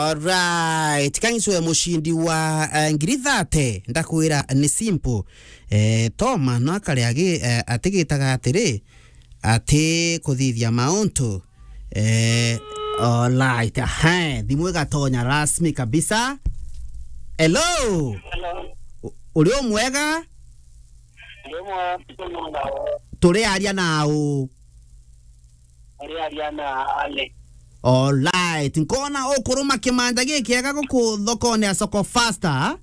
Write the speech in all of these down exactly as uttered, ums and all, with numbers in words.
Alright, kang'icwe mucindi wa, eh, ngiri thate, ndakwira ni simple. Eh, Toma no akare agi-, eh, atigitaga atiri, ati kuthithia mauntu. Eh, alright, ahe, thimu igatonya rasmi kabisa. Hello? Hello. U-, uri umwega? Ndi umwe, ndi umwe. Turi aria na u? Ari aria na Alex. Alright. Nkona ukuruma kimanja gikiega guku thokone ya Soko Faster.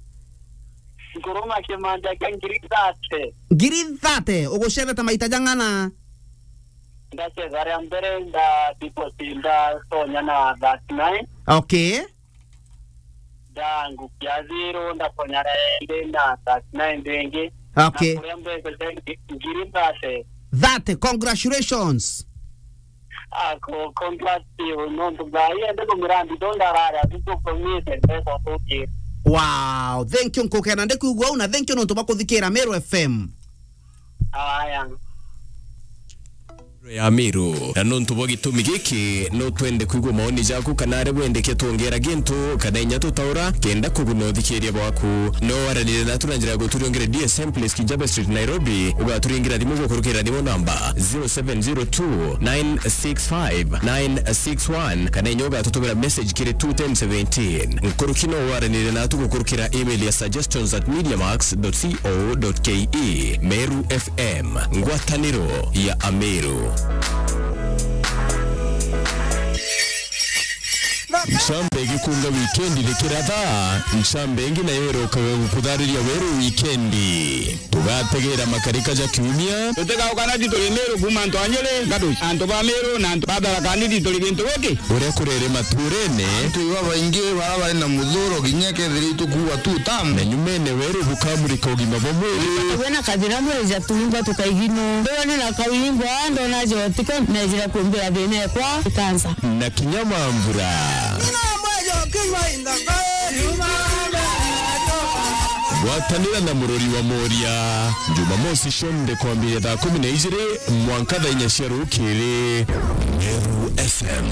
Nkuruma kimanja kia ngiri thate. Ngiri thate, ugucerete maita jang'ana? Ndacetha ria mbere, nda deposit, ndatonya na thirty-nine. Okay. Ndangukia zero, ndatonya indi na thirty-nine ringi. Okay. Na kuria mbeca cia ngi-, ngiri thate. Thate, congratulations. Ah, co-, congrats to you. Nontu ngai ende kumira ndito ndarara, tutukomite mbeca tuki. Wow, thank you, nkukena ndikwigua una, thank you nontu bwa kuthikira Meru F M. Aya. Ya Meru. Na nontu bwa gitumi giki, no twende kwigua maoni jaku kana aria wendeke twongera gintu kana inya tutaura kenda kuguna uthikiria bwaku. No waranire natu na njira ya guturiongere D S M Place Kijaba Street, Nairobi. Ugaturingira thimu gukurukira thimu namba zero seven zero two nine six five nine six one kana inya ugatutumira message kiri two ten seventeen. Nkuruki no waranire natu gukurukira email ya suggestions at mediamax dot co dot ke. Meru F M. M, ngwataniro ya Ameru. Ncambe igikunga wikendi rikiratha, ncambe ingi nayo irokaga gukuthariria weru wikendi. Tugategera makarika ja kiumia. Tutigauka na tituri Meru kuuma antu a Nyeri, Gaduci, antu ba Meru na antu ba Tharaka Nithi turi gintu giki. Uria kurere maturene. Antu iba baingi bara bari na muthuro kinya kethira itukuua tu tamu. Na nyumene weru bukamurika ugima bwa mwiri. Wena kathira mwiri ja tuimba tukaigino. Ndona na kauimba, ndona jo tiko, nejira kumbira thina ekwa, ikansa. Na kinya mambura. Gwatanira na murori wa Moria. Jumamosi cionthe kwambiria thaa kumi na ijiri mwanka thaa inya cia rukiri. Meru F M,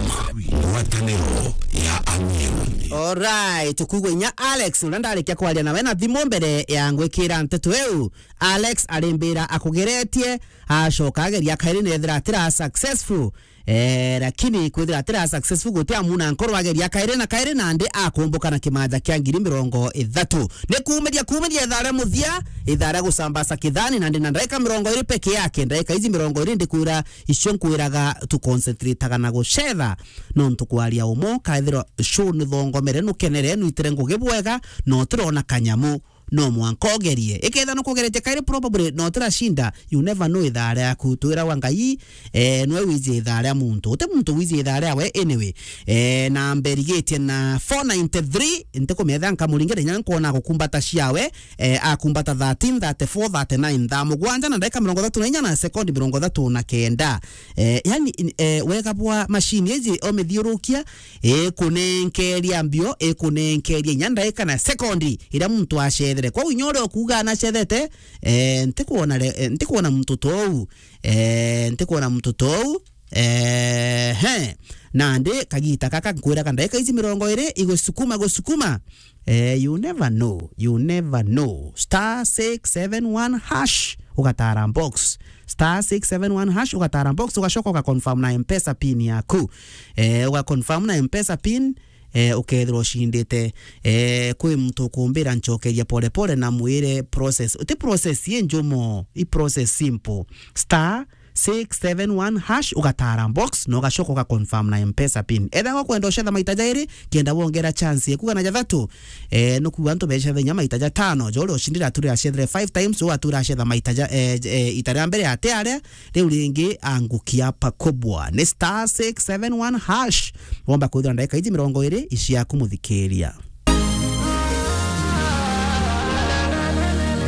ngwataniro ya Ameru. Alright, tukuigua inya Alex, uria ndarikia kwaria nawe na thimu mbere ya ngwikira nteto iu. Alex arimbira akugeretie, acoka ageria kairi nethira atira successful. Eh, lakini kwithira atira successful guti amuna nkoro ageria kairi na kairi nandi akumbuka na kimanja kia ngiri mirongo ithatu. Ni kuumiria, kuumiria ithaa ria muthia, ithaa ria gucambasa kithani nandi na ndaika mirongo iri peke yake. Ndaika iji mirongo iri ndikwira icio nkwiraga tu concentrataga na gucetha. Nontu kwaria umo, kaithirwa show ni thongomere, nukenere, nuitire ngugi bwega, na utirona kanyamu. No mwanka ugerie. Iketha nukugeretie kairi, probably no tiracinda, you never know ithaa riaku. Twiragwa Ngai, eh, nwe wiji ithaa ria muntu. Uti muntu wiji ithaa riawe anyway. Eh, na mberigitie na four ninety-three, ntikumetha nkamuringire inya nkwona gukumbata ciawe, eh, akumbata thirteen, thirty-four, thirty-nine, thaa mugwanja na ndaika mirongo ithatu na inya na sekondi mirongo ithatu na kenda. Eh, yani, in-, eh, wega bwa machine iji omithiurukia, ikunenkeria mbio, ikunenkeria inya ndaika na sekondi iria muntu acethere. Kwou inya uria ukuuga anacethete, eh, ntikwona re-, eh, ntikwona muntu tou, eh, ntikwona muntu tou, eh, he. Nandi kagita gaka nkwiraga ndaika iji mirongo iri igusukuma, gusukuma. Eh, you never know, you never know. Star six seven one hash, ugatara box. Star six seven one hash, ugatara box, ugacoka ugaconfirm na M-Pesa pin yaku. Eh, ugaconfirm na M-Pesa pin, eh, ukethirwa ucindite. Eh, kwi muntu ukumbira ncokeria pole pole na mwire process. Uti process i njumo, i process simple. Star six seven one hash, ugatara box, na ugacoka ugaconfirm na M-Pesa pin. Ethagwa kwenda ucetha maita jairi, kenda wongera chance ya kugana jathatu. Eh, nukuga antu becetha inya maita jatano, jo uria ucindire aturira acethire five times, jo atura acetha maita ja, eh, eh, ita ria mbere ate aria, riu ringi angukia pakubwa. Ni star six seven one hash. Womba kwithira ndaika iji mirongo iri iciaku muthikiria.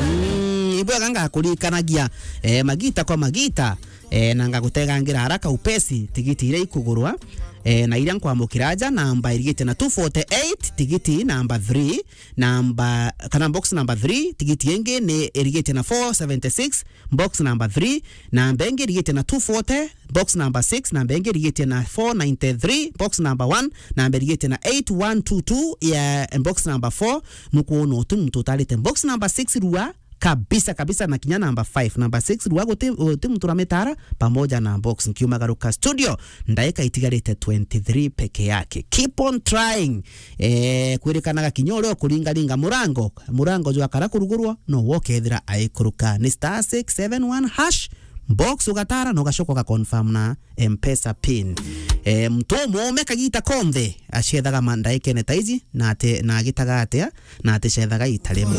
Mm, ibwega ngakurikanagia, eh, magita kwa magita, eh, na ngagutegangira haraka upesi tigiti iria ikugurwa, Eh, na iria nkwamukira aja, namba irigite na two forty-eight, tigiti namba three, namba, kana box number three, tigiti ingi ni irigite na four seventy-six, box number three, namba ingi irigite na two forty, box number six, namba ingi irigite na four ninety-three, box number one, namba irigite na eight one two two, ya box number four, nukwona uti muntu utarite box number six rua, kabisa kabisa, na kinya number five, number six rua, guti, guti muntu uramitara pamoja na box. Nkiumagaruka studio, ndaika itigarite twenty-three peke yake. Keep on trying. Eh, kwirikanaga kinya uria ukuringaringa murango, murango jwakara kurugurwa, no wokethira aikuruka. Ni star six seven one hash, box ugatara na ugacoka ugaconfirm na M-Pesa pin. Eh, mtu umume kagita konthe, acethaga ma-, ndaikene ta ici, na ate, na agitaga atia, na aticethaga ita rimwe.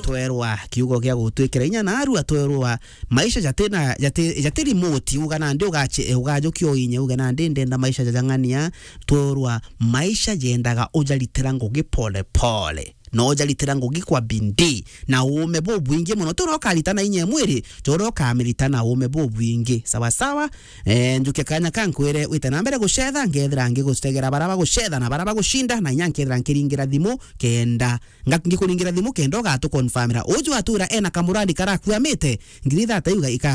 Twerwa kiugo gia gutwikira inya na arua, twerwa maisha jatina, jati, jati remote, uga nandi ugache, ugajukia uinye, uge nandi ndenda maisha jajang'ania. Twerwa maisha jendaga ujaritira ngugi pole pole. Na ujaritira ngugi kwa bidii na uume bubwingi mono. Ti uria ukarita na inya mwiri, ti uria ukamirita na uume bubwingi. Sawa sawa? Eh, njuke kanya ka nkwire wite na mbere gucetha, nkethira ngigutegera bara bagucetha na bara bagucinda, na inya nkethira nkiringira thimu kenda, nga-, ngikuringira thimu kenda ugatuconfirmira. Uju atura ena kamurandi karakuamite, ngiri thirty iuga ika